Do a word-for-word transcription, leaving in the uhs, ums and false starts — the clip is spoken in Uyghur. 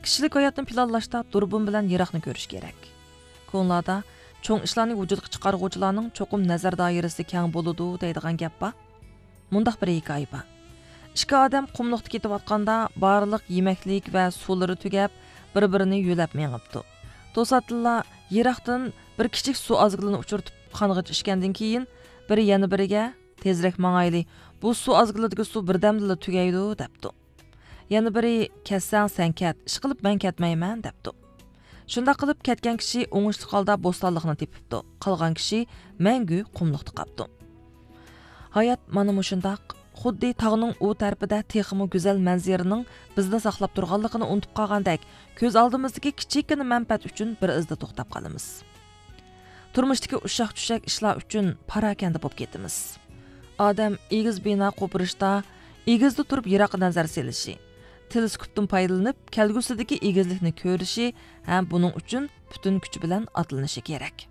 كىشىلىك ھاياتنى پىلانلاشتا دۇربۇن بىلەن يىراقنى كۆرۈش كېرەك. كونىلاردا چوڭ ئىشلارنى ۋۇجۇدقا چىقارغۇچىلارنىڭ چوقۇم نەزەر دائىرىسى كەڭ بولىدۇ دەيدىغان گەپ بار. مۇنداق بىر ھېكايە بار. ئىككى ئادەم قۇملۇقتا كېتىۋاتقاندا بارلىق يېمەكلىك ۋە سۇلىرى تۈگەپ، بىر-بىرىنى يۆلەپ مېڭىپتۇ. توساتتىنلا يىراقتىن بىر كىچىك سۇ ئازگىلىنى ئۇچرىتىپ قانغىچە ئىچكەندىن كېيىن، بىرى يەنە بىرىگە، «تېزرەك ماڭايلى، بۇ سۇ ئازگىلىدىكى سۇ بىردەمدىلا تۈگەيدۇ» دەپتۇ. يەنە بىرى، «كەتسەڭ سەن كەت، ئىشقىلىپ مەن كەتمەيمەن» دەپتۇ. شۇنداق قىلىپ كەتكەن كىشى ئوڭۇشلۇق ھالدا بوستانلىقنى تېپىپتۇ، قالغان كىشى مەڭگۈ قۇملۇقتا قاپتۇ. ھايات مانا مۇشۇنداق، خۇددى تاغنىڭ ئۇ تەرىپىدە تېخىمۇ گۈزەل مەنزىرىنىڭ بىزنى ساقلاپ تۇرغانلىقىنى ئۇنتۇپ قالغاندەك، كۆز ئالدىمىزدىكى كىچىككىنە مەنپەئەت ئۈچۈن بىر ئىزدا توختاپ قالىمىز. تۇرمۇشتىكى ئۇششاق-چۈششەك ئىشلار ئۈچۈن پاراكەندە بولۇپ كېتىمىز. ئادەم ئېگىز بىنا قوپۇرۇشتا ئېگىزدە تۇرۇپ يىراققا نەزەر سېلىشى، تېلېسكوپتىن پايدىلىنىپ كەلگۈسىدىكى ئېگىزلىكنى كۆرۈشى ھەم بۇنىڭ ئۈچۈن پۈتۈن كۈچى بىلەن ئاتلىنىشى كېرەك.